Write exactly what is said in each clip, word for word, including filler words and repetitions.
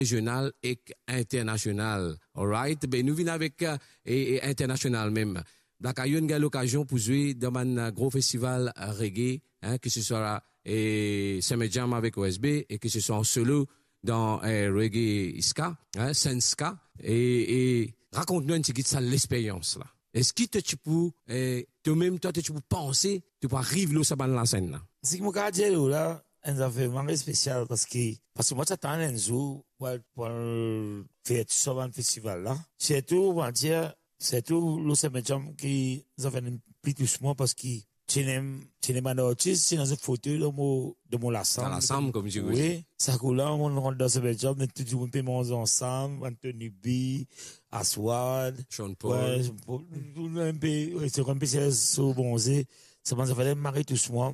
rezional ek internasional. Alright, be nou vinn avek, eh, eh, internasional mem. Black Ayo inn gagn lokazion pou zwe dan bann, eh, gro festival, eh, reggae, hein, ke se swa, eh, Summer Jam avek O S B e ke se swa an solo dan, eh, reggae ska, hein, Sun Ska. E, e rakont nou enn tigit sa lexperyans la. Eski to ti pou, eh, to mem twa to ti pou panse to pou ariv lor sa bann lasenn la? Seki mo kapav dir lor la, enn zafer vremem spesial, parski, parski mo ti atann enn zour pou al, pou al fer tou sa bann festival la. Sirtou, mo dir, sirtou lor Summer Jam ki zafer pli tous mwa, parski ti ena, ti ena bann artis, ti ena zot foto dan mo, dan mo lasam. Dan lasam, kouma dir. Wi, sa kou la, mo rant dan Summer Jam, me tou dimoun pe manz ansam, Anthony B, Aswad, Sean Paul. Wi, Sean Paul, tou dimoun pe, wi, se kouma pe se so bonze, sa bann zafer la mari tous mwa.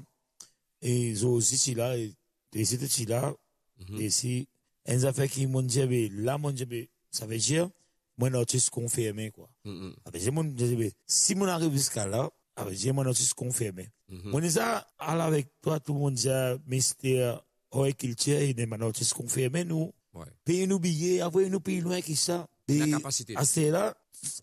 E Zozi ti la, e, e si to ti la, mhm, e si, enn zafer ki mo dir, be, la, mo dir, be, savedir, mo enn artis konfirme, kwa. Mhm. Savedir, mo dir, be, si mo ariv ziska la, savedir, mo enn artis konfirme. Mhm. Mo ena sa, al avek twa, tou dimoun dir, mister Oy Kiltir, ena bann artis konfirme, nou. Wi. Pei nou biye, apre nou pli lwin ki sa. E lakapasite. Aster la,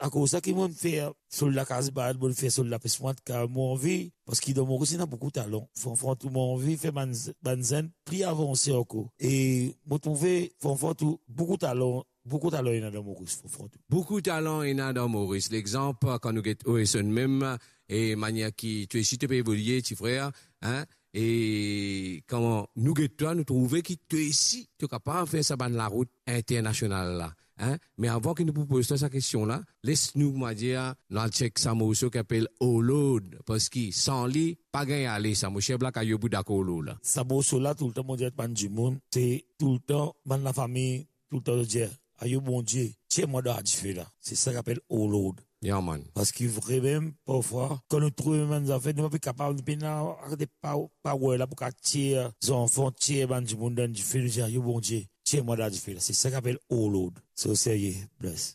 akoz sa ki mo fer so lakaz bal, mo fer so lapes mwa, ka mo anvi, parski dan Moris ena boukou talan. Franfran tou mo anvi fer bann, bann zenn pli avanse ankor. E mo trouve, franfran tou, boukou talan, boukou talan ena dan Moris, franfran tou. Boukou talan ena dan Moris. Lexanp, kan nou get Oeson mem, e manier ki to osi to pe evolie, ti frer, hein, e kan nou get twa, nou trouve ki to osi, to kapav fer sa bann larout internasional la, hein? Me avan ki nou pou poz twa sa kestion la, les nou, mo dir, nou al chek sa morso ki apel Oh Lord, parski san li, pa gagn ale sa, mo ser Black Ayo pou dakor lor la. Sa morso la, toultan mo dir bann dimoun, se toultan bann lafami, toultan zot dir, ayo Bondie, tir mwa dan ladife la. Se sa ki apel Oh Lord. Yeah, man. Parski vremem, parfwa, kan nou trouve bann zafer, nou pa pe kapav, nou pena, akoz de pa, pawel la pou kapav tir zanfan, tir bann dimoun dan dife, nou dir, ayo Bondie, tir mwa dan ladife la. Se sa ki apel Oh Lord. So serye, bless.